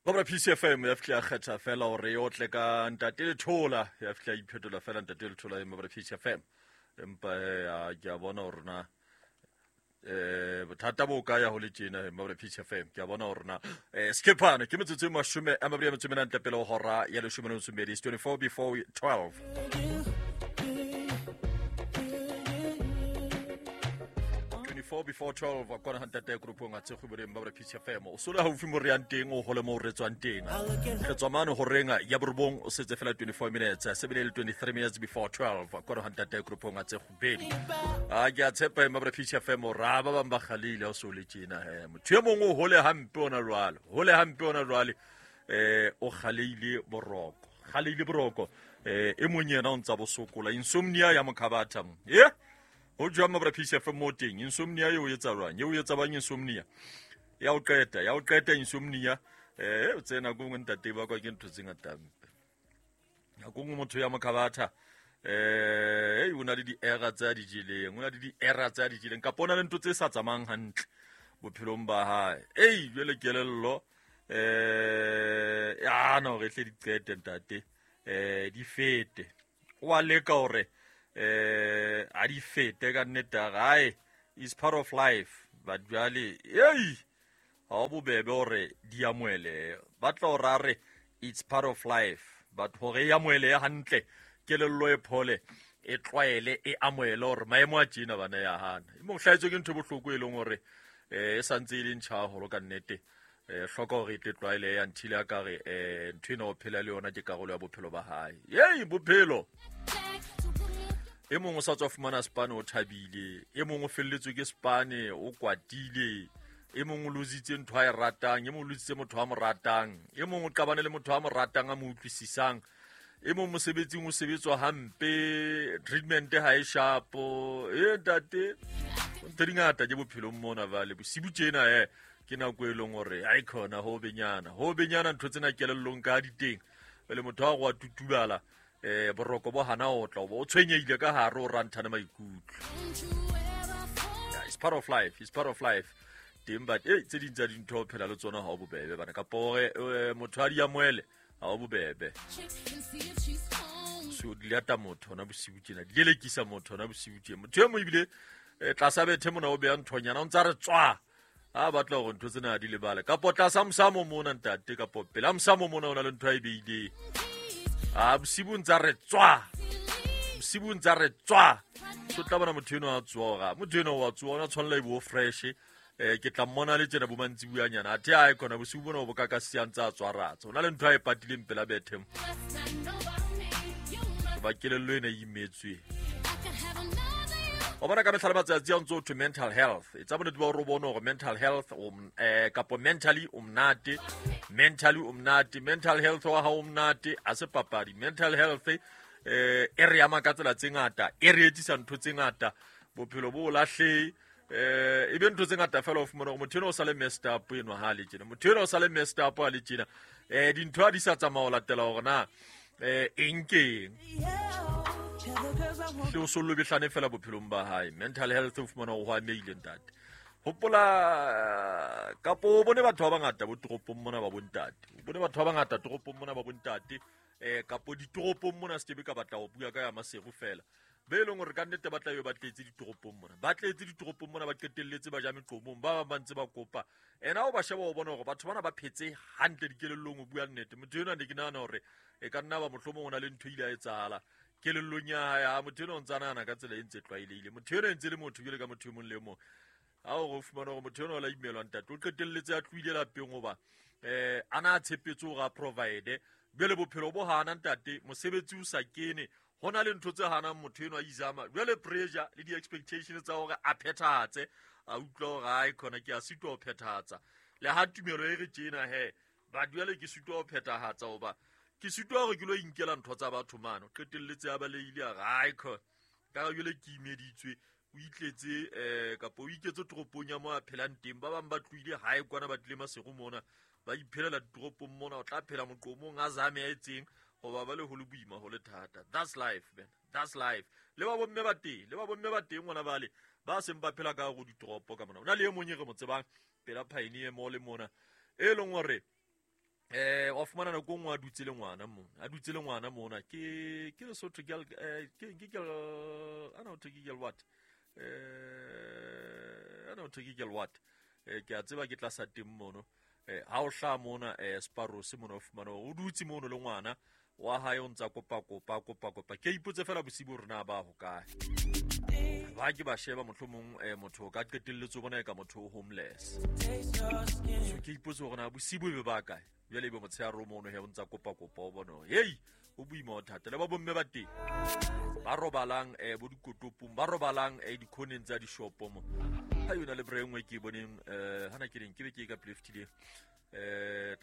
Babra PCFM ya fihla ya kgetha fela hore e otle ka ntate Lethola, ya fihla ya iphetola fela ntate Lethola e Babra PCFM. Empa he ke a bona hore na bothata bo ka ya ho le tjena Babra PCFM. Ke a bona hore na skephane ke metsotso e 24 ntle pele ho hora ya 12. It's 24 before 12. 24 before 12 kwana ntate groupong a tsekgobodeng ba PCFM o sole haufi mo re yang teng o hole mo re tswang teng re tswa mane horeng ya borobong o setse fela 24 minutes sebele le 23 minutes before 12 kwana ntate groupong a tsekgobedi a ke a tshepa ema ba PCFM o ra ba bang ba kgalile o sole tjena he motho e mongwe o hole hampe ona jwale hole hampe ona jwale o kgaleile boroko e mong yena o ntsa bosokola insomnia ya mokhabatha mo ho jwang mabra PCFM mo teng insomnia eo etsa jwang eo etsa bang insomnia ya o qeta insomnia o tsena go ntate ba kwa ke ntho tse ngata nako nngwe motho ya mokhabatha o na le di-error tse a di jeleng kapa o na le ntho tse sa tsamayang hantle bophelong ba hae ei jwale kelello ya na hore tle di qete ntate di fete o a leka hore a di fete ka nnete gae is part of life but jwale ei ha o bobebe hore di amohele ba tla hore a re it's part of life but hore e amohele hantle kelello e phole e tlwaele e amohele hore maemo a tjena bana ya hana e mo hlahetswe ke ntho e bohloko e leng hore e santse e le ntjha haholo ka nnete hloka hore e tle tlwaele ya nthile a ka re ntho ena o phela le yona ke karolo ya bophelo ba hae ei bophelo e mongwe o sa tswa fumana spane o thabile e mongwe o felletswe ke spane o kwatile e mongwe o lositse ntho a e ratang e mongwe o lositse motho a mo ratang e mongwe o qabane le motho a mo ratang a mo utlwisisang e mong mosebetsing o sebetswa hampe treatment ha e shapo e ntate ntho di ngata ke bophelong mona vale bosibu tjena ke nako e leng hore ha e khona ho benyana ntho tsena kelellong ka diteng pele motho a go a tutubala boroko bo hana o tla o tshwenyehile ka hare o ranthane maikutlo. It's part of life, it's part of life teng but tse ding tsa dintho o phela le tsona ha o bobebe bana kapa hore motho a di amohele ha o bobebe so di lata motho ona bosibu tjena di lelekisa motho ona bosibu tjena motho e mong ebile tlasa bethe mona o beya nthonyana o ntsa re tswa a batla hore ntho tsena di lebale kapo tlasa mosamo mona ntate kapo pela mosamo mona o na le ntho a e beileng a bosibu ntsa re tswa bosibu ntsa re tswa so tla bona motho eno a tsoga motho eno wa tsoga ona tshwanela e bo fresh ke tla mmona le tjena bo mantsibuanyana athe a e khona bosibu bona o bo ka ka siang tsa tswaratsa o na le ntho a e patileng pela bethe ba kelello ena e imetswe o bona ka mehla le matsatsi a ntse o thwe mental health e tsa bonnete ba hore o bone hore mental health kapo mentally o monate mentally o monate mental health wa hao o monate a se papadi mental health e re ama ka tsela tse ngata e re etsisa ntho tse ngata bophelo bo lahlehe e be ntho tse ngata fela o fumana hore motho ena o sa le messed up enwa ha le tjena motho ena o sa le messed up ha le tjena dintho ha di sa tsamaya ho latela hore na eng keng hle o sollo behlane fela bophelong ba hae mental health o fumana hore ho amehile ntate hopola kapo o bone batho ba bangata bo toropong mona ba bontate o bone batho ba bangata toropong mona ba bontate kapo ditoropong mona se kebe ka batla ho bua ka ya Maseru fela be leng hore ka nnete ba tla be ba tletse ditoropong mona ba tletse ditoropong mona ba qetelletse ba ja meqomong ba bang ba ntse ba kopa ena o ba sheba o bona hore batho bana ba phetse hantle dikelellong o bua nnete motho enwa ne ke nahana hore e ka nna ba mohlomong o na le ntho ile a etsahala kelellong ya hae ha motho enwa o ntse a nahana ka tsela e ntse tlwaelehile motho enwa e ntse le motho jwale ka motho e mong le e mong ha o re o fumana hore motho enwa o la imelwa ntate o qetelletse a tlohile lapeng hoba a na a tshepetse hore a provide jwale bophelo bo hana ntate mosebetsi o sa kene ho na le ntho tse hanang motho enwa a izama jwale pressure le di-expectation tsa hore a phethahatse a utlwa hore ae khona ke a sitwa ho phethahatsa le ha tumelo e re tjena he ba jwale ke sitwa ho phethahatsa hoba ke sitwa hore ke lo inkela ntho tsa batho mane o qetelletse a balehile a re ae khona ka jwale ke imeditswe o itletse kapa o iketse toropong ya mo a phelang teng ba bang ba tlohile hae kwana ba tlile Maseru mona ba iphelela ditoropong mona o tla phela moqomong a zame a etseng hoba ba le ho le boima ho le thata that's life man that's life le ba bomme ba teng le ba bomme ba teng ngwana bale ba seng ba phela ka go ditoropo ka mona o na le e mong e re mo tsebang pela Pioneer Mall mona e leng hore Wa fumana nako e nngwe a dutse le ngwana mona, a dutse le ngwana mona, ke Lesotho girl, ke girl, ana ho thwe ke girl what? Ana ho thwe ke girl what? Ke a tseba ke tlasa teng mono. Ha o hlaha mona, Sparrows mona, o fumana hore o dutse mono le ngwana wa hae, o ntsa kopa kopa kopa kopa. Ke ipotse fela bosibu hore na ba hokae. Ba ke ba sheba mohlomong, motho o ka qetelletse o bona eka motho o homeless. So ke ipotse hore na bosibu e be ba kae. Jwale ebe motshehare o mono he o ntsa kopa kopa, o bona hore hei, o boima o thata. Le ba bomme ba teng ba robalang, bo dikotopong, ba robalang, dikhoneng tsa dishopo mo. Ha yona le bre nngwe ke e boneng, hana ke reng ke be ke e ka pleftileng,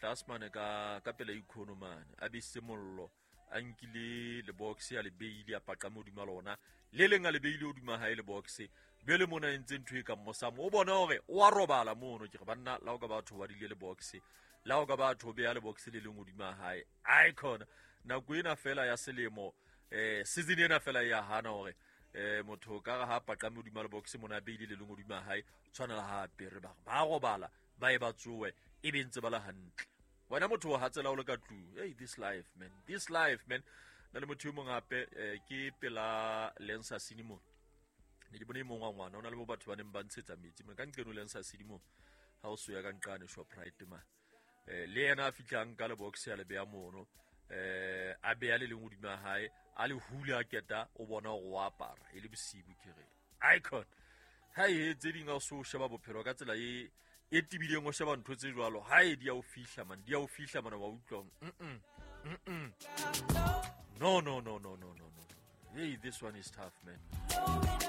tlase mane ka pela ikhono mane, a besitse mollo, a nkile le box a le beile, a paqame hodima lona, le leng a le beile hodima hae le box. Bjale mona e ntse ntho e kang mosamo, o bona hore o a robala mono. Ke re banna, la o ka batho ba dile le box, la o ka batho beya le box le leng hodima hae. Ai khona nako ena fela ya selemo, season ena fela ya hana hore, motho ka re ha paqame hodima le box mona, a beile le leng hodima hae, tshwanela ha apere, ba re ba robala, ba e ba tsoe, e be ntse ba le hantle. Wena motho o hatsela o le ka tlung. Hey, this life man, this life man. Na le motho e mong hape, ke pela Lensa Cinema. Ne ke bone e mong wa ngwana, o na le bo batho ba neng ba ntshetsa metsi mona ka nqeno Lensa Cinema, ha o soya ka nqane Shoprite ma. Le yena a fihlang ka le box ya le beya mono, a beya le leng hodima hae, a le hule a keta, o bona hore o apara e le bosibu. Ke re icon ha e tse ding, ha o so sheba bophelo ka tsela e tebileng, o sheba ntho tse jwalo, ha e di a o fihla man, di a o fihla man, wa utlwa. Mm. No, no, no, no, no, no, no. Hey, this one is tough, man.